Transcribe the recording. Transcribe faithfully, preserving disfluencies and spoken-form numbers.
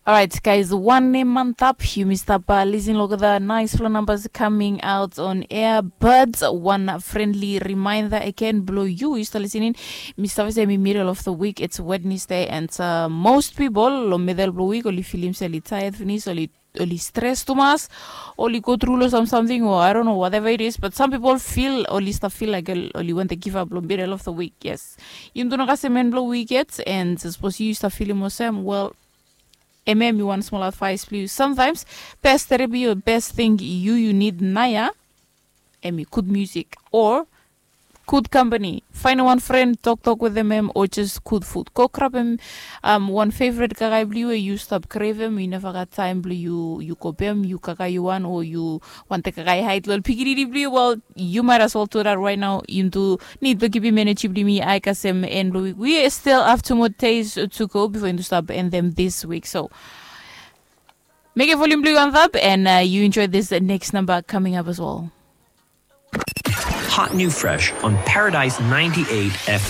Alright, guys, wanem antap? Yumi stap lisin long olgeta naispela nambas coming out on air, but wan friendly reminder again, bilong yu yu stap lisin in. Mi stap se mi middle of the week, it's Wednesday, and uh, most people long middle bilong week oli filim se oli tired finis, oli oli stres tumas, oli go tru long sam samting o I don't know whatever it is, but some people feel oli stap feel like oli want to give up long middle of the week. Yes, yumi tu no kasem en bilong week yet, and sapos yu stap filim olsem, well, em em i wan small advice bilong yu. Sometimes best therapy o best thing yu yu need naya em i good music or good company. Fainim wan friend, toktok wetem em, o just good food. Go grabem um, wan favorite kakai bilong yu we yu stap krevem, yu neva gat taim bilong yu yu go bem, yu kakai yu wan o yu wantaim kakai hait long pikinini bilong yu, well, you might as well do that right now. Yumi tu need bilong kipim energy bilong mi ai kasem en bilong week. We still have two more days to go before yumi tu stap end them this week. So make a volume blue on top and uh, you enjoy this next number coming up as well. Hot new fresh on Paradise ninety-eight F M.